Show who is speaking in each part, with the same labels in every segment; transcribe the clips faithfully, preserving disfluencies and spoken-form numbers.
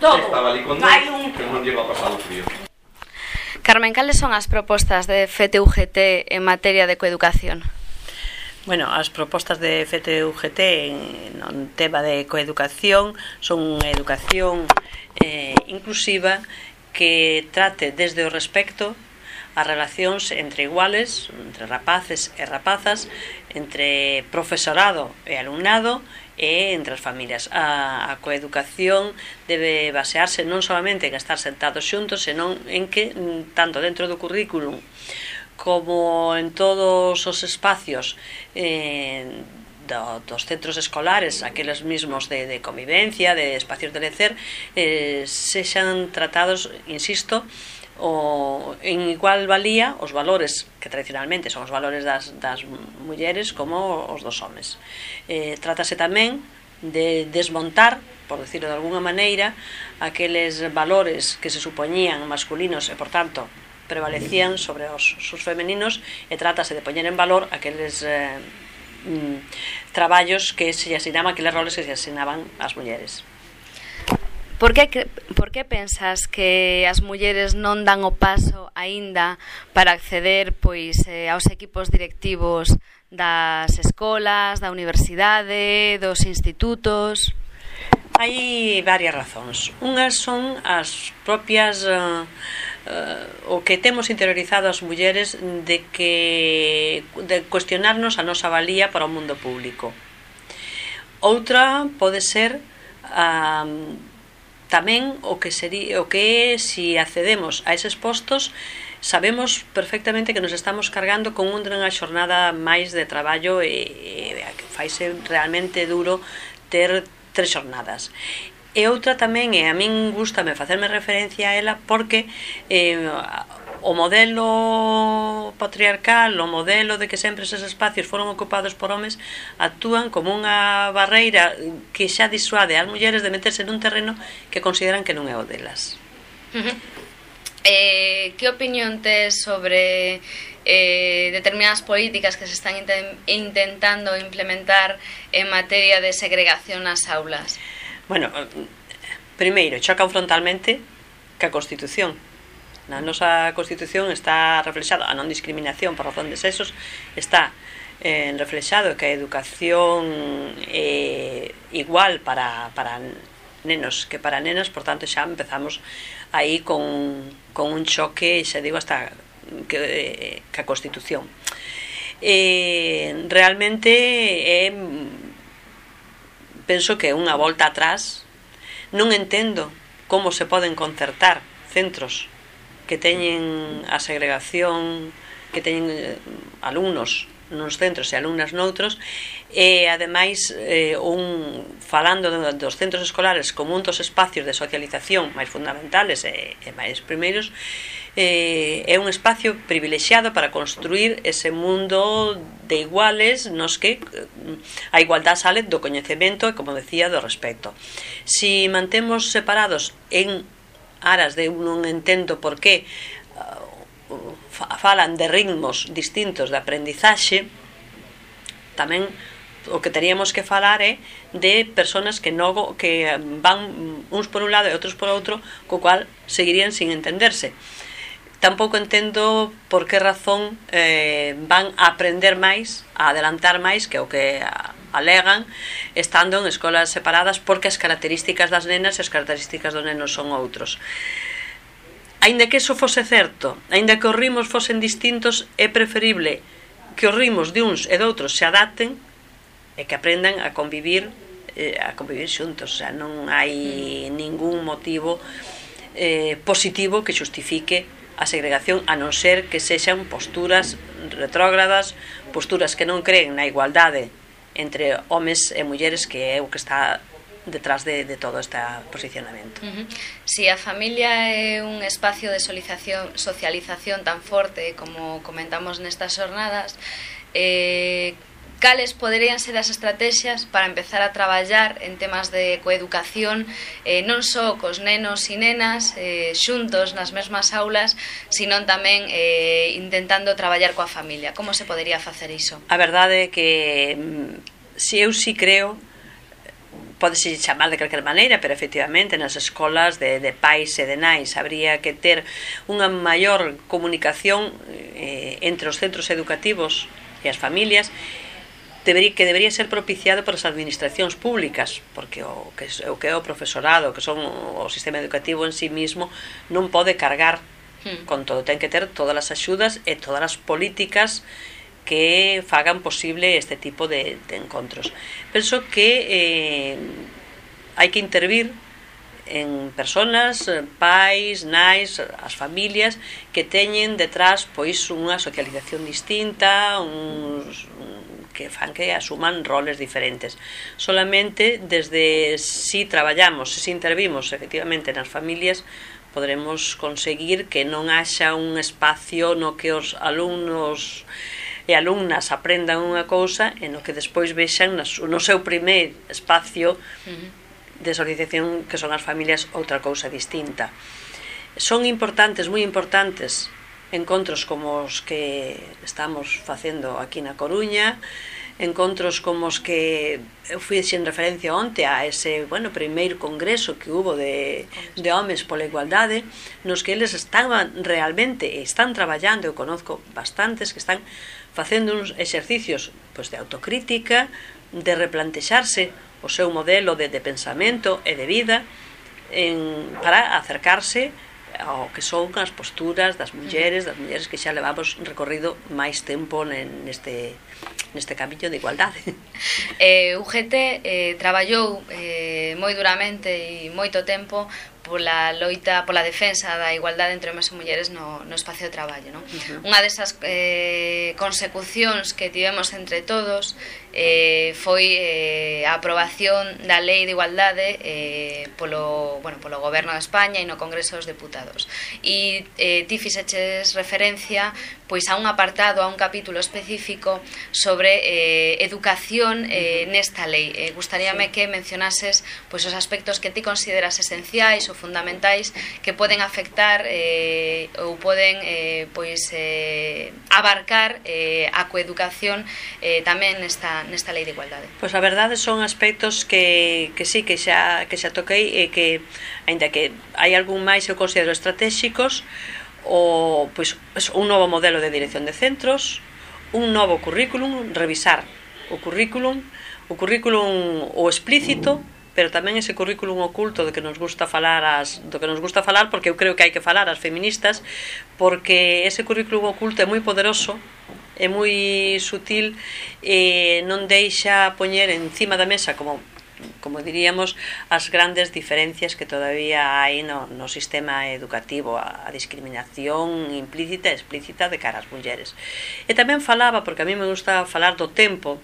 Speaker 1: todo.
Speaker 2: Estaba ali con
Speaker 1: Hai
Speaker 2: Deus,
Speaker 1: un...
Speaker 2: que non lleva pasado frío.
Speaker 3: Carmen, cales son as propostas de F T U G T en materia de coeducación?
Speaker 1: Bueno, as propostas de F T U G T en tema de coeducación son unha educación eh, inclusiva que trate desde o respecto as relacións entre iguales, entre rapaces e rapazas, entre profesorado e alumnado e entre as familias. A, a coeducación debe basearse non solamente en estar sentados xuntos, senón en que, tanto dentro do currículum como en todos os espacios eh, do, dos centros escolares, aqueles mismos de, de convivencia, de espacios de lecer, eh, sexan tratados, insisto, o, en igual valía os valores que tradicionalmente son os valores das, das mulleres como os dos homes. Eh, trátase tamén de desmontar, por decirlo de alguna maneira, aqueles valores que se supoñían masculinos e, por tanto, prevalecían sobre os, os femeninos, e trátase de poñer en valor aqueles eh, mm, traballos que se asinaban, aqueles roles que se asinaban ás mulleres.
Speaker 3: Por que, por que pensas que as mulleres non dan o paso aínda para acceder pois eh, aos equipos directivos das escolas, da universidade, dos institutos?
Speaker 1: Hai varias razóns. Unhas son as propias uh, uh, o que temos interiorizado as mulleres de que de cuestionarnos a nosa valía para o mundo público. Outra pode ser a uh, tamén o que sería o que é si accedemos a eses postos, sabemos perfectamente que nos estamos cargando con unha xornada máis de traballo e, e faise realmente duro ter tres xornadas. E outra tamén, e a min gustame facerme referencia a ela, porque eh, o modelo patriarcal, o modelo de que sempre eses espacios foron ocupados por homes, actúan como unha barreira que xa disuade ás mulleres de meterse nun terreno que consideran que non é o delas.
Speaker 3: Uh-huh. Eh, que opinión tes sobre eh, determinadas políticas que se están inten- intentando implementar en materia de segregación nas aulas?
Speaker 1: Bueno, primeiro, chocan frontalmente ca Constitución. Na nosa Constitución está reflexado a non discriminación por razón de sexos, está eh, reflexado que a educación é igual para, para nenos que para nenas, por tanto xa empezamos aí con, con un choque, xa digo, hasta que, que a Constitución. Eh, realmente é, penso que é unha volta atrás. Non entendo como se poden concertar centros que teñen a segregación, que teñen eh, alumnos nuns centros e alumnas noutros, e ademais eh, un, falando dos centros escolares como un dos espacios de socialización máis fundamentales e, e máis primeiros, eh, é un espacio privilexiado para construir ese mundo de iguales nos que a igualdade sale do coñecemento e, como decía, do respecto. Si mantemos separados en aras de non entendo por que uh, falan de ritmos distintos de aprendizaxe, tamén o que teríamos que falar é de personas que non, que van uns por un lado e outros por outro, co cual seguirían sin entenderse. Tampouco entendo por que razón eh, van a aprender máis, a adelantar máis que o que alegan estando en escolas separadas, porque as características das nenas e as características dos nenos son outros. Aínda que eso fose certo, aínda que os ritmos fosen distintos, é preferible que os ritmos de uns e de outros se adapten e que aprendan a convivir eh, a convivir xuntos. O sea, non hai ningún motivo eh, positivo que xustifique a segregación, a non ser que sexan posturas retrógradas, posturas que non creen na igualdade entre homes e mulleres, que é o que está detrás de, de todo este posicionamento.
Speaker 3: Uh-huh. Si a familia é un espacio de socialización, socialización tan forte como comentamos nestas xornadas, eh, cales poderían ser as estrategias para empezar a traballar en temas de coeducación, eh, non só cos nenos e nenas eh, xuntos nas mesmas aulas, senón tamén eh, intentando traballar coa familia? Como se podería facer iso?
Speaker 1: A verdade é que si eu si creo podese chamar de calquer maneira, pero efectivamente nas escolas de, de pais e de nais habría que ter unha maior comunicación eh, entre os centros educativos e as familias, debería, que debería ser propiciado por as administracións públicas, porque o que, o que é o profesorado, que son o sistema educativo en sí mismo, non pode cargar hmm. con todo, ten que ter todas as axudas e todas as políticas que fagan posible este tipo de, de encontros. Penso que eh, hai que intervir en personas, pais, nais, as familias que teñen detrás pois unha socialización distinta, uns, que fan que asuman roles diferentes. Solamente desde si traballamos, si intervimos efectivamente nas familias, podremos conseguir que non haxa un espacio no que os alumnos e alumnas aprendan unha cousa e no que despois vexan no seu primeiro espacio de socialización, que son as familias, outra cousa distinta. Son importantes, moi importantes, encontros como os que estamos facendo aquí na Coruña, encontros como os que eu fui en referencia onte a ese, bueno, primeiro congreso que hubo de, de homes pola igualdade, nos que eles estaban realmente, están traballando, eu conozco bastantes que están facendo uns exercicios pois, de autocrítica, de replantexarse o seu modelo de, de pensamento e de vida en, para acercarse ao que son as posturas das mulleres, das mulleres que xa levamos recorrido máis tempo neste, neste camiño de igualdade.
Speaker 3: Eh, U G T eh, traballou eh, moi duramente e moito tempo pola loita, pola defensa da igualdade entre homes e mulleres no, no espacio de traballo, non? Uh-huh. Unha desas eh, consecucións que tivemos entre todos eh, foi eh, a aprobación da Lei de Igualdade eh, polo, bueno, polo Goberno de España e no Congreso dos Deputados. E eh, ti fixeches referencia pois a un apartado, a un capítulo específico sobre eh, educación eh, nesta lei. Eh, gustaríame sí. que mencionases pois os aspectos que ti consideras esenciais ou fundamentais que poden afectar eh, ou poden eh, pois eh, abarcar eh, a coeducación eh, tamén nesta, nesta lei de igualdade.
Speaker 1: Pois a verdade son aspectos que, que sí, que xa, que xa toquei e que, aínda que hai algún máis eu considero estratégicos, o, pois, un novo modelo de dirección de centros, un novo currículum, revisar o currículum, o currículum o explícito, pero tamén ese currículum oculto de que nos gusta falar as, do que nos gusta falar, porque eu creo que hai que falar as feministas, porque ese currículum oculto é moi poderoso, é moi sutil e non deixa poñer encima da mesa, como como diríamos, as grandes diferencias que todavía hai no, no sistema educativo, a, a discriminación implícita e explícita de cara ás mulleres. E tamén falaba, porque a mí me gusta falar do tempo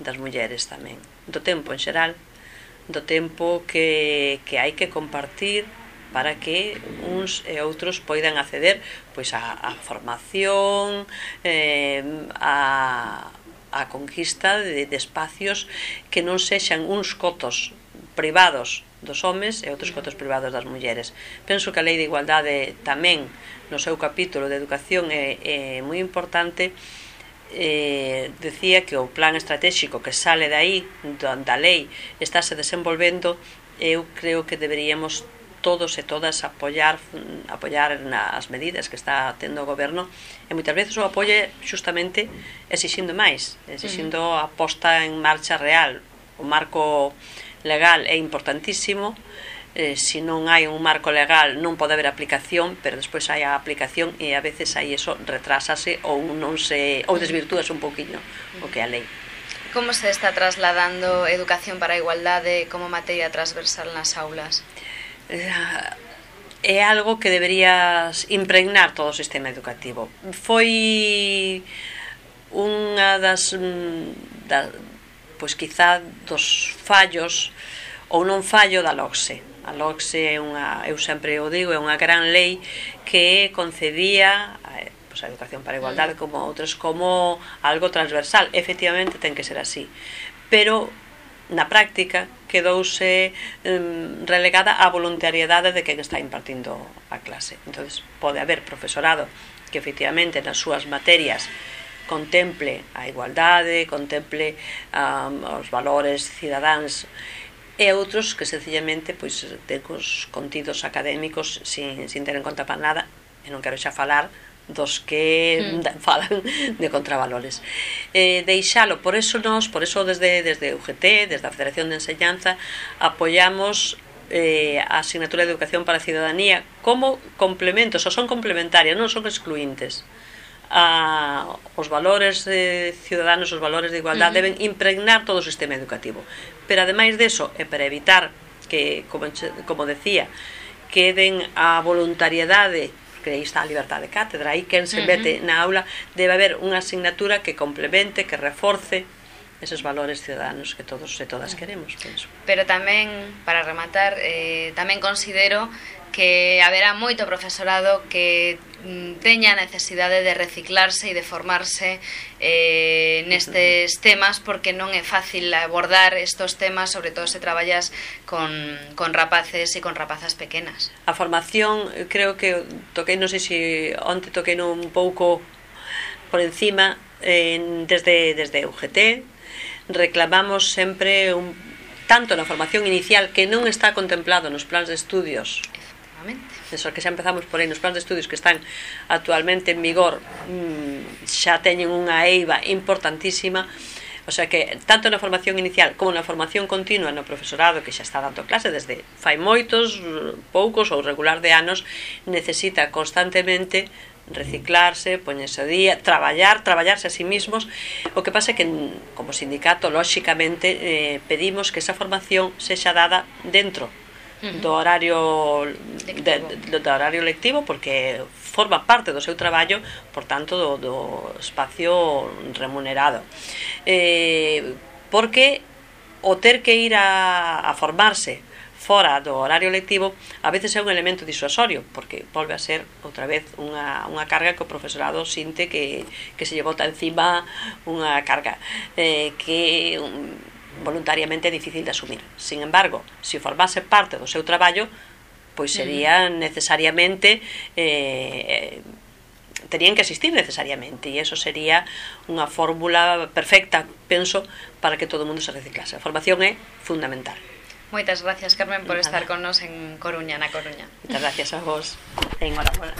Speaker 1: das mulleres tamén, do tempo en xeral, do tempo que, que hai que compartir para que uns e outros poidan acceder pois a, a formación, eh, a, a conquista de, de espacios que non sexan uns cotos privados dos homes e outros cotos privados das mulleres. Penso que a Lei de Igualdade tamén no seu capítulo de educación é, é moi importante. Eh, decía que o plan estratégico que sale de aí da lei estáse desenvolvendo. Eu creo que deberíamos todos e todas apoiar apoiar nas medidas que está tendo o goberno, e moitas veces o apoie justamente exixindo máis, exixindo a posta en marcha real. O marco legal é importantísimo. Eh, se non hai un marco legal non pode haber aplicación, pero despois hai a aplicación e a veces aí eso retrásase ou non se ou desvirtúase un poquinho o que é a lei.
Speaker 3: Como se está trasladando educación para a igualdade como materia transversal nas aulas?
Speaker 1: Eh, é algo que deberías impregnar todo o sistema educativo. Foi unha das, da, pois quizá dos fallos ou non fallo da LOCSE. A LOCSE é unha, eu sempre o digo, é unha gran lei que concedía pois, a educación para a igualdade como outras, como algo transversal. Efectivamente ten que ser así, pero na práctica quedouse um, relegada á voluntariedade de quen está impartindo a clase. Entón, pode haber profesorado que efectivamente nas súas materias contemple a igualdade, contemple um, os valores cidadáns, e outros que sencillamente pois ten os contidos académicos sin, sin ter en conta para nada, e non quero xa falar dos que mm. falan de contravalores. Eh, deixalo, por eso nós, por eso desde, desde U G T, desde a Federación de Enseñanza, apoiamos eh, a asignatura de Educación para a Ciudadanía como complementos, ou son complementarias, non son excluintes. A, os valores eh, ciudadanos, os valores de igualdade uh -huh. deben impregnar todo o sistema educativo, pero ademais deso, e para evitar que, como, como decía, queden a voluntariedade, que aí está a liberdade de cátedra, aí quen se mete uh -huh. na aula, debe haber unha asignatura que complemente, que reforce esos valores ciudadanos que todos e todas queremos, penso.
Speaker 3: Pero tamén, para rematar, eh, tamén considero que haberá moito profesorado que teña a necesidade de reciclarse e de formarse eh, nestes temas, porque non é fácil abordar estos temas, sobre todo se traballas con, con rapaces e con rapazas pequenas.
Speaker 1: A formación, creo que toquei, non sei se onte toquei un pouco por encima, eh, desde, desde U G T reclamamos sempre un, tanto na formación inicial, que non está contemplado nos plans de estudios, eso que xa empezamos por aí, nos plans de estudios que están actualmente en vigor, mmm, xa teñen unha eiva importantísima. O sea que tanto na formación inicial como na formación continua no profesorado, que xa está dando clase desde fai moitos, poucos ou regular de anos, necesita constantemente reciclarse, poñerse ao día, traballar, traballarse a sí mismos. O que pasa é que como sindicato, lóxicamente, eh, pedimos que esa formación sexa dada dentro do horario de, de, do horario lectivo, porque forma parte do seu traballo, por tanto do, do espacio remunerado, eh, porque o ter que ir a, a formarse fora do horario lectivo a veces é un elemento disuasorio, porque volve a ser outra vez unha, unha carga que o profesorado sinte que, que se lle bota encima, unha carga eh, que un, voluntariamente é difícil de asumir. Sin embargo, se formase parte do seu traballo, pois sería necesariamente eh, terían que asistir necesariamente, e eso sería unha fórmula perfecta, penso, para que todo o mundo se reciclase. A formación é fundamental.
Speaker 3: Moitas gracias, Carmen, por Nada. estar con nos en Coruña, na Coruña.
Speaker 1: Moitas gracias a vos. Enhorabuena.